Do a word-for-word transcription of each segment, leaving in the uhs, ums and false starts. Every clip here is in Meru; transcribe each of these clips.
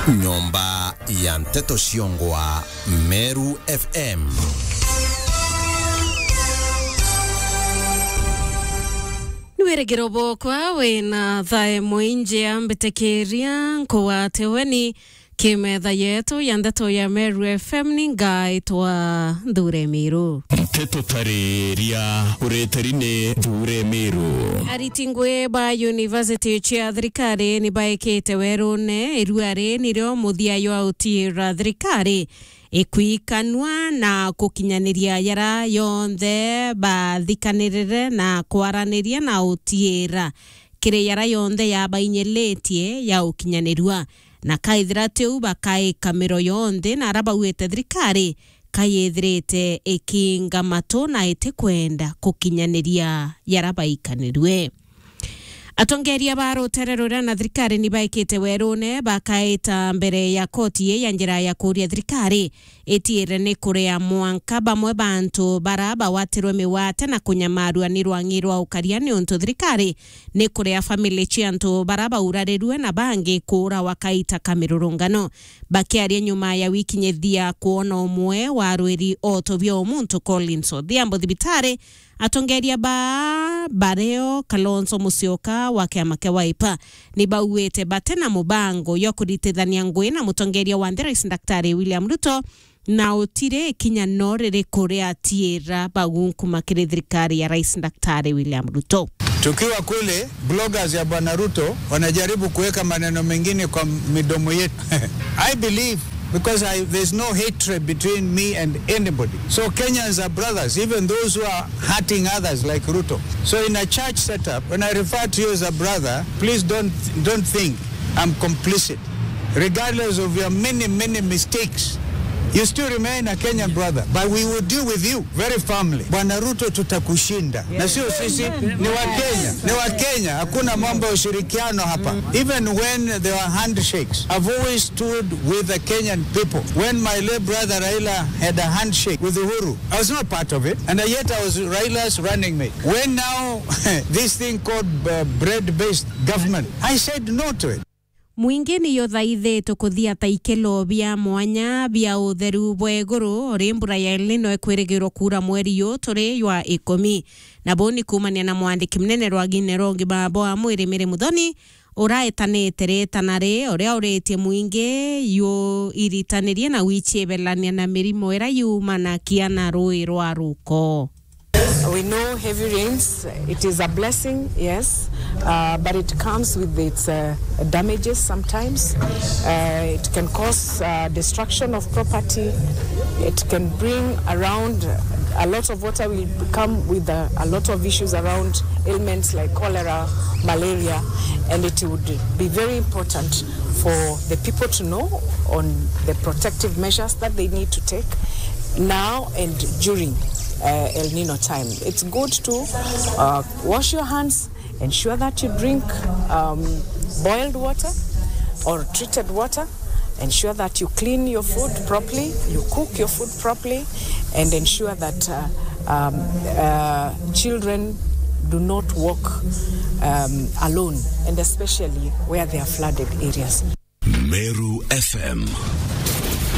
Nyomba ya nteto ciongwa Meru F M. Ni wirigiro bwokwa wina thaa imwe injia mbitikiria nkugwate weni kimetha yetu ya ndeto ya Meru F M ni ngaitwa Nthure Miru. Nteto tariria uriteri ni Nthure Miru. Ariti ngui ba university cia thirikari ni baikite werune irua ri nirio muthia jwa utiira thirikari ikwikanua na kukinyaniria jara yonthe bathikanirire na kwaraniria na utiira kiri jara yonthe yabainyiritie ya ukinyanirua, na kaithira tiu bakaika miro yonthe na ara bauite thirikari kayithirite ikiinga matu na itikwenda kukinyaniria jara baikanirue. Atongeria ba rutere ruria na thirikari ni baikite werune bakaita mbere ya koti ii ya njira ya kuuria thirikari itiire ni kuria mwanka bamwe ba antu bara bawatirwe migwate na kunyamarua ni rwang'i rwa ukaria, niuntu thirikari ni kuria family cia antu bara baurarirue na bangi kuurawa kaita ka mirurungano. Bakiaria nyuma ya wiki nyithi ya kwona umwe wa arwiri oto bia umuntu Collins Odhiambo thibitari, atongeria ba bario Kalonzo Musyoka wa kiama kia Wiper ni bauite bati na mubango jwa kuritithania ngui na mutongeria wa nthi Rais Daktari William Ruto, na utiri ikinya no ririku riatiira bagunkuma kiri thirikari ya Rais Daktari William Ruto. Tukiwa kule, bloggers ya Bwana Ruto wanajaribu kuweka maneno mengine kwa midomo yetu. I believe, because I, there's no hatred between me and anybody. So Kenyans are brothers, even those who are hurting others like Ruto. So in a church setup, when I refer to you as a brother, please don't, don't think I'm complicit. Regardless of your many, many mistakes, you still remain a Kenyan brother, but we will deal with you very firmly. Bwana Ruto, tutakushinda. Na sio sisi, ni Wakenya. Ni Wakenya. Hakuna mambo ya ushirikiano hapa. Even when there were handshakes, I've always stood with the Kenyan people. When my late brother Raila had a handshake with Uhuru, I was not part of it, and yet I was Raila's running mate. When now this thing called, uh, bread-based government, I said no to it. Mwingi ni juthaithitwe kuthia ta ikelo bia mwanya bia utheru bwa iguru, uri mbura ya El Nino ikwirigirwa kuura mweri yu turi jwa ikumi. Na buu ni kuumania na mwandiki munene rwagine rwa ugima bwa mwiri Mary Muthoni, uraetanite riitana ri, uria uritie mwingi ju iritanirie na wichiebelania na mirimo iria yumanakia na rui rwa ruko. We know heavy rains, it is a blessing, yes, uh, but it comes with its, uh, damages sometimes. Uh, it can cause, uh, destruction of property. It can bring around a lot of water, will come with a, a lot of issues around ailments like cholera, malaria, and it would be very important for the people to know on the protective measures that they need to take now and during, uh, El Nino time. It's good to, uh, wash your hands, ensure that you drink, um, boiled water or treated water. Ensure that you clean your food properly, you cook your food properly, and ensure that, uh, um, uh, children do not walk, um, alone, and especially where there are flooded areas. Meru F M.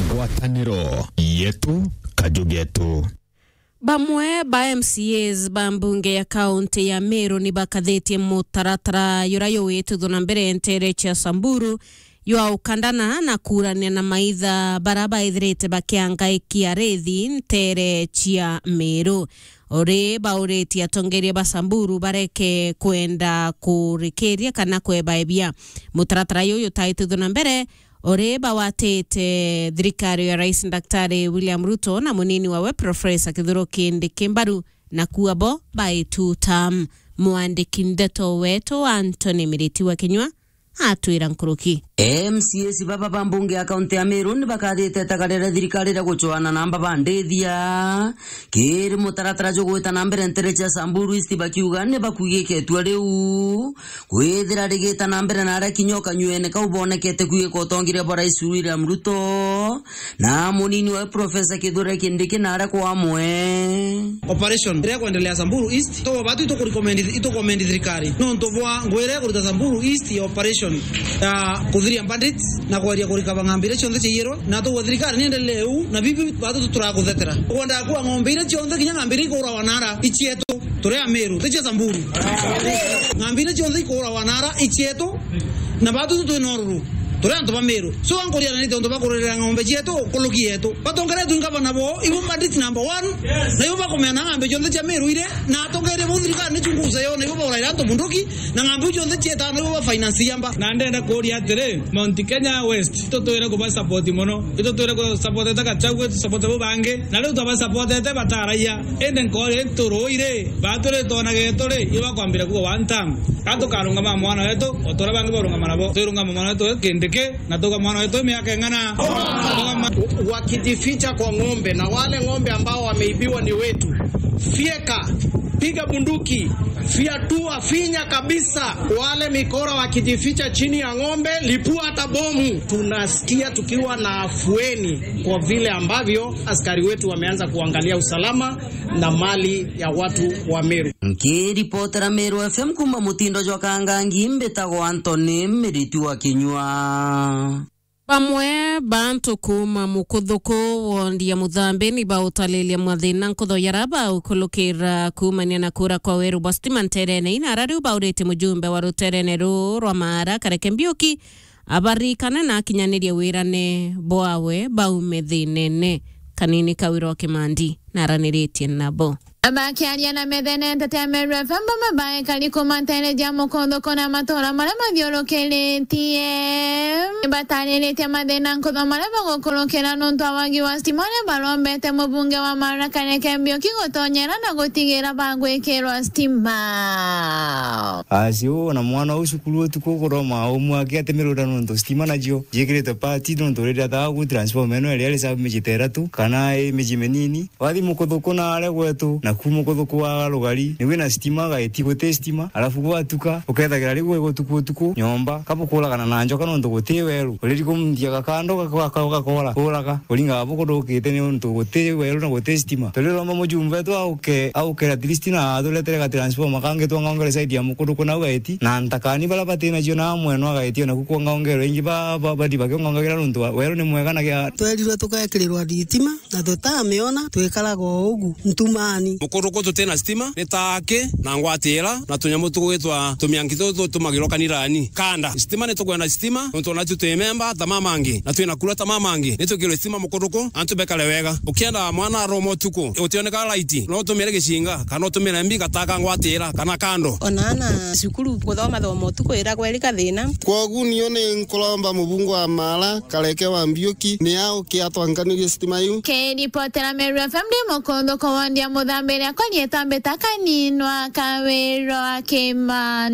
Ngwataniro yetu, kaju getu. Bamwe ba M C As ba mbunge ya kaunti ya Meru ni bakathitie mutaratara juria juwitithwa na mbere nteere cia Samburu jwa ukandana na kuurania na maitha bara baithirite bakiangaikia rithi nteere cia Meru. Uri bauritie atongeria ba Samburu bareke kwenda kurikiria kana kwebaebia mutaratara juju utaitithwa na mbere, uri bawatite thirikari ya Rais Daktari William Ruto na munini wawe Professor Kithure Kindiki mbaru, na kuo bo baituta. Mwandiki ndeto wetu Anthony Miriti wa Kinyua atwira nkuruki. M C As baba ba mbunge ya kaunti ya Meru ni bakathite itagaria ria thirikari ria gucwana na mbabandithia kiri mutaratara jugwita na mbere nteere cia Samburu East, bakiuga ni bakuigike itua riu kwithira rigita na mbere na aria kinya o kanyuene kau bonekete kuigika utongeria bwa Rais William Ruto na munini wawe Professor Kithure Kindiki na aria kwa amwe. Operation iria ikwendelea Samburu East, to batu itukurecommend, itukomendi thirikari nontu bwa ngwira ikuruta Samburu East ya operation ya Clear bandits na kweria kurikaba ng'ombe iria cionthe ciaiyirwe, na tugwe thirikari niendelee uu, na bibi batu turakuthetera. Kwenda kuwa ng'ombe iria cionthe, kinya ng'ombe iria ikuurawa nara, icietu, turi Amiru, ti cia Samburu. Ng'ombe iria cionthe ikuurawa nara, icietu, na batu tu twina ururu, turi antu ba Miru. So, ankuria na niti untu bakururira ng'ombe cietu, kuluki yetu. Batongeretwe i ngavana bo, ibo bandits number one, na ibo bakumena ng'ombe cionthe cia Miru ire, na atongeria bo thirikari ni chunguza yo, na ibo bauraira antu bunduki, na ng'ombe iu cionthe cietaga na ibo ba finance yamba. Na ndenda kuuria atiri, Mount Kenya West, itutwire kuba support mono. Itutwire ku support ta Gachagua, tu support bo bangi. Na riu twaba support te bataraia. Indi nkori nturuire, baturi twona geturi, iba kwambira kuga one time. Ka tukarungama mwana wetu, o ta uria bangi barungama nabo. Twirungama mwana wetu Kindiki, na tuga mwana wetu miaka ing'ana. Tuga ma- Wakijificha kwa ng'ombe, na wale ng'ombe ambao wameibiwa ni wetu. Fieka, piga bunduki, fiatua, finya kabisa. Wale mikora wakijificha chini ya ng'ombe, lipua hata bomu. Tunasikia tukiwa na afueni kwa vile ambavyo askari wetu wameanza kuangalia usalama na mali ya watu wa Meru. Nkiripotera Meru F M kuuma mutindo jwa Kangangi, mbitagwa Anthony Miriti wa Kinyua. Bamwe ba antu kuuma Mukuthuku, wondi ya Muthambi, ni bautalilia mathina nkutho jaria baukulukira kuumania na kuura kwa weru bwa stima nterene ii, na aria riu baurite mujumbe wa ruterene ruu rwa Maara, Kareke Mbiuki, abarikane na akinyanirie wirane bwawe baume thinene. Kanini Kawira wa Kimandi naraniritie nabo. Bakiaria na methene nteto ya Meru F M, bamwe ba ekari kuuma nteere ja Mukuthuku na matuura maria mathiurukiritie, batariritie mathina nkutho maria bagukurukira nontu wa wagi wa stima, aria barombete mubunge wa Maara Kareke Mbiuki gutonyera na gutigira bagwikirwa stima. Asi uu na mwana uu cukuru utuku kuroma umwe akiatemerwa nontu stima nacio jikiritwe pati nontu riria thaa gu transformer ino iria iri sabu miji ta iratu kana i miji minini. Wathi Mukuthuku na aria gwetu, na ku Mukuthuku wa rugari, ni wina stima, gaiti guti stima, alafu gwatuka, ukethagira riu gwi gutuku utuku, nyomba, kabukuragana na njoka nontu guti weru. Uriri kumthia gakando gaka-, gaka-, gakora, uraga, uringaga bukudukite nontu guti weru na guti stima. Turiromba mujumbe wetu auke, auke at least na aturetere ga transformer kangi twangaongere side ya Mukuthuku nau gaiti, na ntakani baria bati nacio na mweno agaiti, ona ku kwangaongerwe ingi ba, ba, badi bakiongaongagira nontu wa, weru ni mwega na gia. Twerirwe tugekirirwa thitima, na tutamiona, twikaraga o ugu ntumani. Mukuthuku tutina stima, ni ta aki na ngwatira, na tunyamu tugwitwa tumianki tutu tutumagirwa kanirani. Kanda, stima ni tukwenda stima, nontu ona tu twi memba ta mamangi, na twina kura ta mamangi, ni twikirwe stima Mukuthuku, antu bekare wega. Ukienda mwana aroma utuku, utioneka laiti, no utumire gicinga, kana utumire mbi gataka ngwatira, kana kando. Ona ana cukuru kuthoma thoma utuku iragwa iri kathina. Kwogu nio ni nkuromba mubunge wa Maara, Kareke wa Mbiuki, ni auke atwankanirie stima iu. Kiripotera Meru F M ndi Mukuthuku wondi ya Muthambi, riakwa rietwa Mbita Kaninwa Kawira wa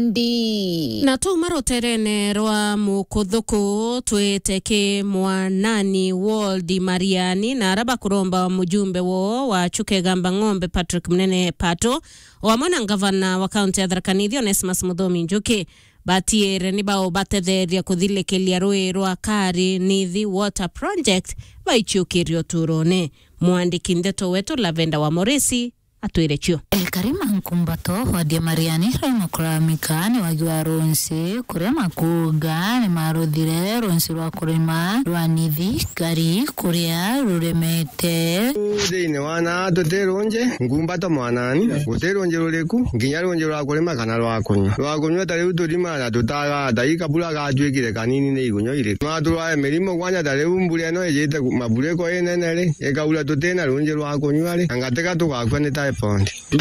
Kimandi. Na tuma ruterene rwa Mukuthuku twite ki Mwanani Ward Mariani, na aria bakuromba mujumbe woo wa Chuka Igamba Ng'ombe Patrick Munene Pato, o amwe na ngavana wa kaunti ya Tharaka Nithi Onesmus Muthomi Njuki, batiere ni baubatetheria kuthilikiria rui rwa Kari Nithi Water Project, baichiukirie uturone. Mwandiki ndeto wetu Lavenda wa Morisi atwire cio. Ekari ma Nkumbato, wadi ya Mariani, rwai makuramika ni wagi wa runsi, kuria makuga ni maruthire runsi rwa kurima rwa Nithi, Kari, kuria ruremete. Thiini wa na tuti runji, Nkumbato Mwanani, guti runji ruriku, nginya runji rwa kurima kana rwa kunywa. Rwa kunywa ta riu turima na tutaga, ta ii kabura gatuikire kanini ni igunywa iriku. Nwa turware mirimo kwanja ta riu mbura ino ijite ku-, maburiko inene ri, ikaura tutina runji rwa kunywa ri, anga tiga tugakua ni typhoid.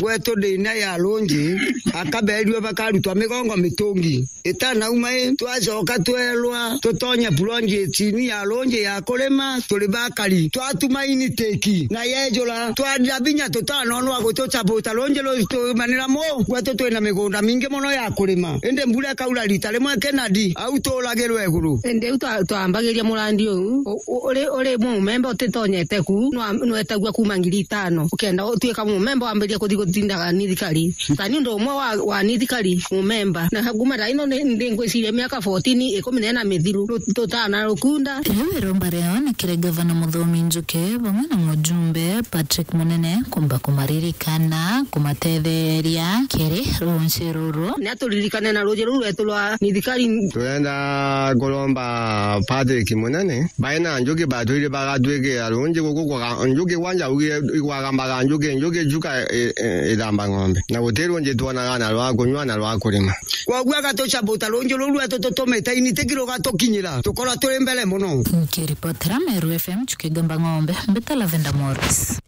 Gwetu thina ya runji, akaberirwe bakarutwa migongo mitungi. Itanauma i, twacoka twerwa tutonye project inu ya runji ya kurima, turi bakari. Twatuma initiki, na yejura, twarira binya tutanonwa gutucabuta runji rutumanira mu. Gwetu twina migunda mingi muno ya kurima. Indi mbura ikaura rita rimwe kinadi, au turagirwe iguru. Indi u twa-, twambagiria murandi uu, u-, u-, uri, uri mumemba utitonyete ku, nwa-, nwetagua kuma ngiri itano. Ukenda utuika mumemba Wambiria kuthi gutindaga ni thikari. Ta ni undu umwe wa, wa ni thikari, mumemba. Na kuma thaa ino ni, ndi ngwiciria miaka fourteen, ikumi na ina mithiru, ru-, tutana rukunda. Riu iromba riao ni kiri Gavana Muthomi Njuki, vamwe na mujumbe Patrick Munene, kumba kumaririkana, kumatetheria kiri ruuji ruru. Ni aturirikane na ruuji ruru rwetu rwa ni thikari. Turenda kuromba Patrick Munene, baina Njuki batwire bagatwikira ruuji guku kwa Ga-, Njuki kwanja augire igwagambaga Njuki, Njuki njuka i-, i-, ithamba ng'ombe. Na guti ruuji twonaga na rwa kunyua na rwa kurima. Kwoguo agatucabuta ruuji ruu rwetu tutumite initiki rugatukinyira, tukorwa turi mbere mono. Nkiripotera Meru F M, Njuki Gamba Ng'ombe, mbita Lavender Morris.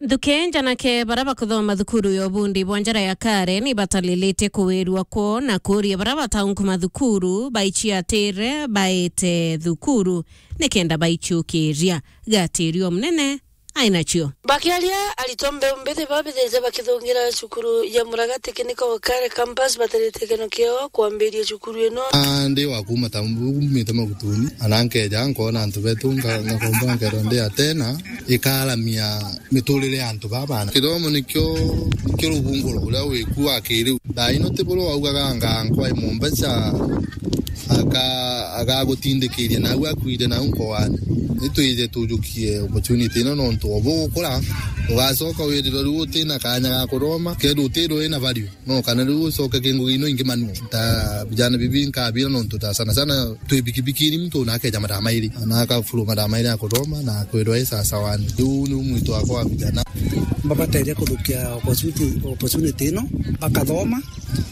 Nthuki njanake bara bakuthoma thukuru ya ubundi bwa njara ya Karen ni batalilite kuwirua kwoo na kuuria bara bataunkuma thukuru baiciatire baite thukuru nikenda baiciukiria. Gatirio munene ainacio. Bakiaria, aritwa mbeu mbithi babithite bakithungira cukuru ya Muragati Kiniko Kare Campus batarite keno kiao kwambiria cukuru ino. Ah, ndi wa kuuma Tambu, umite Magutuni, ana nkeja nkona antu betu, nga-, ngakomba nkero ndi atena, ikaramia miturire ya antu baba. Kithomo nikio, nikio rubunguro uria wiku wa kiriu. Thaa ino ti buru waugaga nga nkwa i mumbeca, aka-, agagutindikiria nau akuire nau nkoani. Nitwije tujukie opportunity ino nontu o bugukura, ugacoka wirirwe riu utina kanya ga kuthoma, kethirwa utirwe wina value. No kana riu ucoke ki ngugi ino ingi manual. Ta vijana bibi nkabira nontu ta sana sana twi bikibikini muntu na akeja mathaa mairi, na akafuru mathaa mairi ya kuthoma na kwirwa i sawa sawa. Riu ni mwito wakwa wa vijana. Mbabateria kuthukia opportunity, opportunity ino, bakathoma,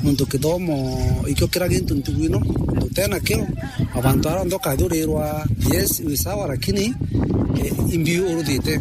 nontu kithomo ikio kira gintu ntugu ino, nontu utenakio, abantu aria onthe ukathurirwa, yes, wi sawa, lakini, eh, imbi uruthite.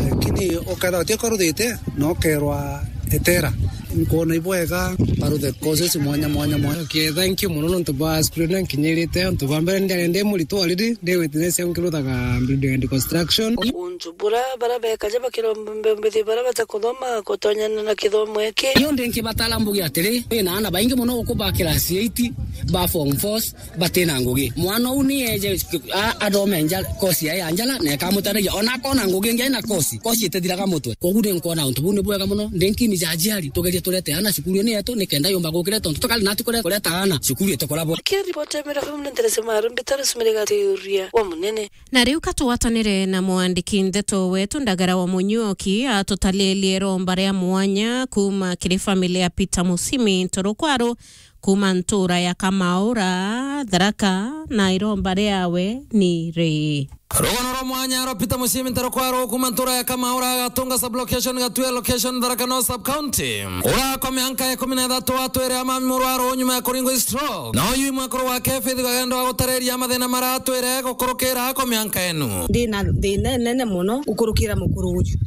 Lakini ukethirwa utio uruthite, na ukerwa etera. Nkwona ibwega baruthe courses mwanya mwanya mwanya. Okay, thank you mono nontu bwa screen nkinyirite. Nontu bwa mbere ndiari ndi muritu already, ndi witness au nkiruthaga building and construction. Untu bura bara bekaja bakiromba mbethi bara bata kuthoma kutonyana na kithomo iki. Iyo ndi nkibatara mbuge atiri, wina ana baingi mono guku ba class eight, ba form fours, batina ngugi. Mwana uu ni eje, a-, athome nja-, kosi yae ya njara, na ikamutethia. Ona akona ngugi ingi aina kosi, kosi itithiraga mutwe. Koguo ni nkwona untu buu ni bwega mono. Ndi nkini ja aciari, tugerie turete ana cukuru ni yetu, nikenda yumba gukira tontu tukari nati kure-, kureta ana cukuru itukora bo. Kiripoti ya Mira F M ni Nterese Maru, mbitari Sumire Gatiuria wa Munene. Na riu ka tugwatanire na mwandiki ndeto wetu Ndagara wa Munyuoki atutalilie iromba ria mwanya kuma kiri family ya Peter Musimi Ntorokwaru, kuma ntura ya Kamaura, Tharaka, na iromba riawe ni ri. Rugano rwa mwanya rwa Peter Musimi Ntorokwaru kuma ntura ya Kamaura, Gatunga sub-location, Gatue location, Tharaka North sub-county. Urakwa mianka ikumi na ithatu atwire ama murwaru nyuma ya kuringwa stroke. Na uyu mwekuru wake Faith Kagendo agutareria mathina maratwire gukurukira kwa mianka enu. Ndi na thina inene mono gukurukira mukuru uyu.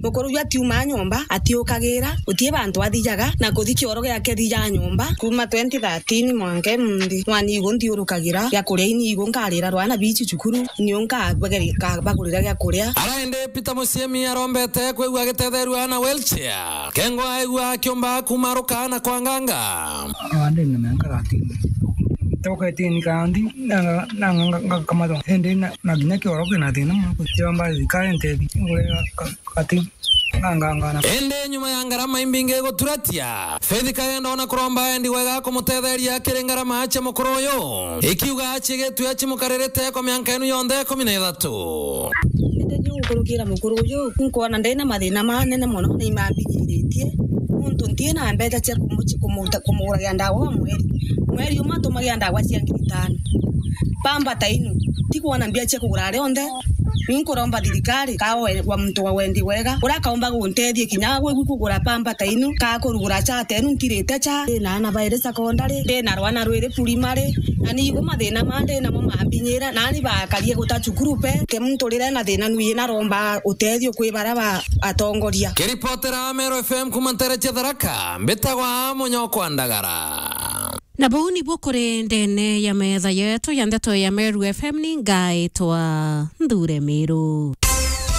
Mukuru uyu atiumaa nyomba, atiukagira, gutii bantu athijaga, na kuthi kioro giake thija nyomba. Kuma twenty thirteen mwanka imunthi, mwana igu nthiurukagira, gia kuria ini igu nkarira rwana bici cukuru, niu nkabagurira gia kuria. Ara indi Peter Musimi arombete kwigua agitetheerua na wheelchair. Kengwa aigua akiumba kumaruka na kwanganga. Aa, ndi na miaka thirteen. Toka eighteen kandi, na, na, na, nga-, ngakamatwa. Indi na, na nginya kioro kina thina mono, kutiromba thirikari ntethi. Ngure ka-, ka-, kati, ngangangana. Indi nyuma ya ngarama imbingi guturatia, Faith Kagendo ona kuromba endi wega kumutetheria kiri ngarama cia mukuru uyu, ikiuga aciigitue acimukaririte kwa mianka enu yonthe ikumi na ithatu. Indi ni gukurukira mukuru uyu, nkwona ndina mathina manene mono, ni mambinyiritie, nontu ntina mbeca cia kumu-, cia kumuta-, kumuguragira ndawa wa mweri. Mweri umwe atumagira ndawa cia ngiri itano. Pamba ta inu, tikwona mbia cia kugura rionthe. Ni nkuromba thirikari, ka we-, wa muntu wa wendi wega, uria akaumba guntethia kinya gwi-, gwi kugura pamba ta inu, ka kurugura cha ta inu, ntirite cha. Ndina ana bairi secondary, ndina rwana rwiri primary, na ni igu mathina ma ndinamo mambinyira, nani bakarie guta cukuru pe. Ke muntu rire na thina nui naromba utethio kwi bara ba atongoria. Kiripotera Meru F M kuma ntere cia Tharaka, mbitagwa Munyokwa Ndagara. Na buu nibu kuri ndene ya metha yetu ya ndeto ya Meru F M, ni ngaitwa Nthure Miru.